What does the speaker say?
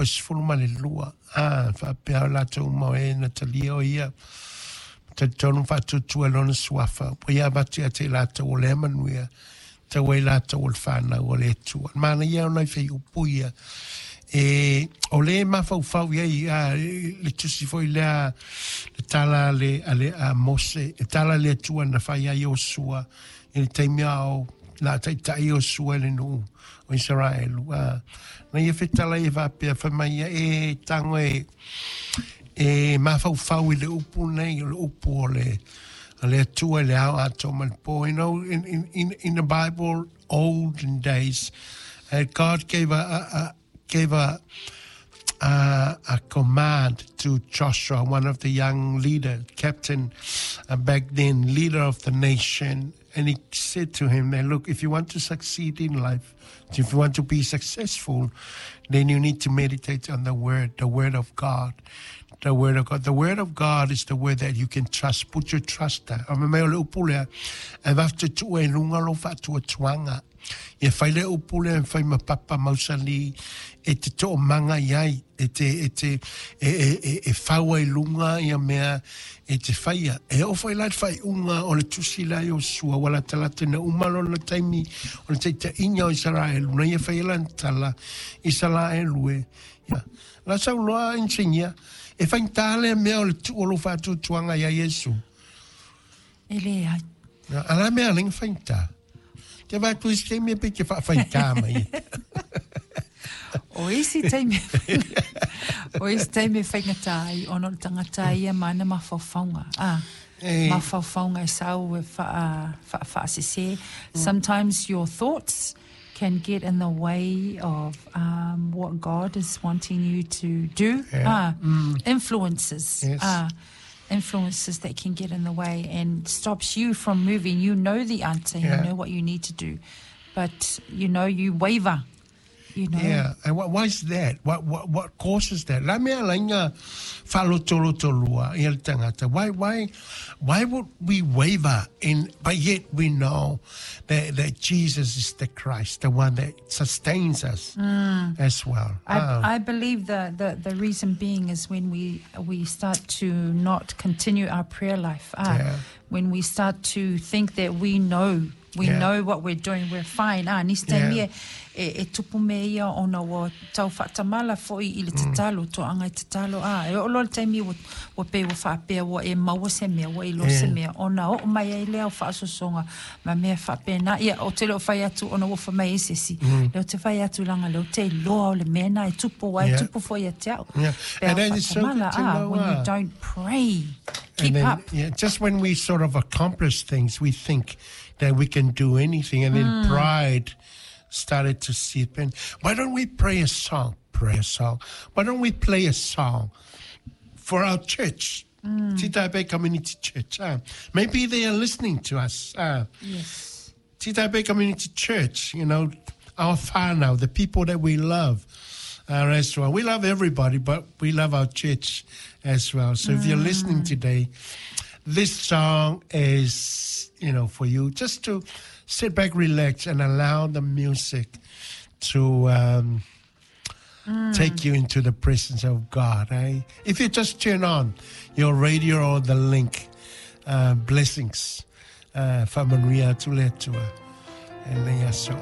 fuaiupu 12, a, faapea o latou uma o e na talia o ia, talitonu faatuatua i lona suafa, ua ia avatu ia te i latou o lea manuia, tau ai latou o le fanau a le Atua. Manaia ona i fuaiupu ia, e, o le mafaufau i ai, a, le tusi foi lea, le tala a le, a le a Mose, e tala le Atua na fai ai Iosua, i le taimi a o la taitai Iosua i le nuu o Isaraelu. A, na ia fetala ia faapea, fai mai ia, e tago e, e mafaufau i le upu nei, o le upu o le, a le Atua i le ao atoa ma le po. You know, in the Bible, olden days, God gave a command to Joshua, one of the young leader, captain back then, leader of the nation. And he said to him, that, look, if you want to succeed in life, if you want to be successful, then you need to meditate on the word, the word of God. The word of God. The word of God is the word that you can trust. Put your trust there. A me mai o le upu lea, e vafatutua i luga lo faatuatuaga. Ia fai le upu lea e fai ma papa mausali e te to'omaga i ai, e te, e te, e, e, e, e fau ai luga ia mea e te faia. E oo foi la le faaiuga o le tusi la Iosua, ua latalata ina uma lona taimi o le taitaiga o Isaraelu, na ia faia lana tala, Isaraelu e. Ia, la saunoa inisinia, e faigata lea mea o le tuu o lou faatuatuaga ia Iesu. E leai. A la mea lenga faigata. Te vai tu isi taimi e pe te whawhaitā mai. O isi taimi o isi taimi e whaingata ai ona o le tangata ia ma ana mafaufauga. Ah, E, mafaufauga e sau e wha, wha, whaasese. Sometimes your thoughts can get in the way of what God is wanting you to do. Ah, influences. Ah, influences that can get in the way and stops you from moving. You know the answer, you know what you need to do, but you know you waver. You know. Yeah, and why is that? What causes that? La mea lainga whalotolotolua i le tangata. Why would we waver in, but yet we know that Jesus is the Christ, the one that sustains us as well. I believe the reason being is when we start to not continue our prayer life. When we start to think that we know we know what we're doing, we're fine. Ah, nisi taimi e, e tupu me ia ona ua tau faatamala fo'i i le tatalo, toaga i tatalo. Ah, e oo loa le taimi ua, ua pei ua faapea ua e maua se mea, ua iloa se mea, ona oo mai ai lea o faasoasoga ma mea faapena. Ia, o te le o fai atu ona ua fai mai e se isi. Le o te fai atu laga le o te iloa o le mea na e tupu ai, tupu foi ia te au. Pe And then it's so good faatamala, to ah, know, when you don't pray, keep and then, up. Yeah, just when we sort of accomplish things, we think that we can do anything, and then pride started to seep in. Why don't we pray a song? Pray a song. Why don't we play a song for our church? Titae Bay Community Church. Maybe they are listening to us. Titae Bay Community Church, you know, our whānau, the people that we love as well. We love everybody, but we love our church as well. So if you're listening today, this song is, you know, for you just to sit back, relax, and allow the music to take you into the presence of God. Eh? If you just turn on your radio or the link, blessings. Whamanuia atu le Atua. E le aso.